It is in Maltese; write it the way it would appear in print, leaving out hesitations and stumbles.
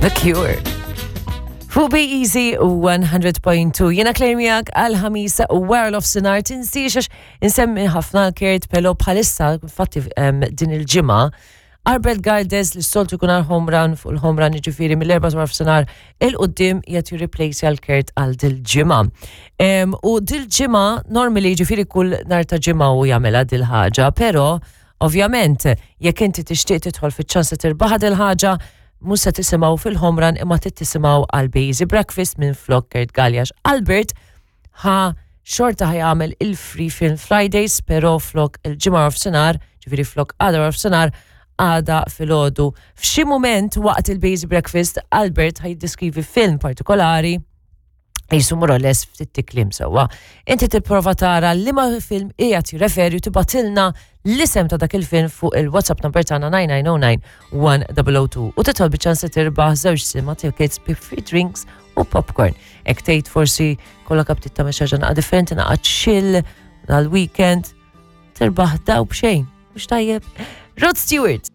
The Cure. Fuq Be Easy 100.2. Jena Claire miegħek għal ħamis wara l-ofsinar tinsiex għax insemmi ħafna Kurt Pelo bħalissa infatti din il-ġimgħa Arbel Galdes li s-soltu jkun għal home run fuq il-home run jiġifieri mill-erba' wara f'sinar il-qudiem qed jirreplace għal Kurt għal dil-ġimgħa. U dil-ġimgħa normally jiġifieri kull nhar ta' ġimgħa u jagħmilha dil-ħaġa, però ovvjament jekk inti tixtieq tidħol fiċ-ċans li tirbaħ dil-ħaġa mhux se tisimgħu fil-home run imma trid tisimgħu għal Bazy Breakfast minn flok Kurt Galjax. Albert ħa xorta ħa jagħmel il-Free Film Fridays, pero flok il-ġimgħa nofsinhar, ġifieri flok għada nofsinhar, għada filgħodu. F'xi mument waqt il-Bazy Breakfast, Albert ħa jiddiskrivi film partikolari jisu more or less ftit tiklim sewwa. Inti tipprova tara liema film qiegħed jirreferi u tibgħatilna l-isem ta' dak il-film fuq il-WhatsApp number tagħna 9909 1002 u titħol biċ-ċans li tirbaħ żewġ cinema tickets bi free drinks u popcorn. Ek tgħid forsi kollok aptit tagħmel xi ħaġa naqa' differenti, naqa' chill dal-weekend, tirbaħ daw b'xejn. Mhux tajjeb. Rod Stewart.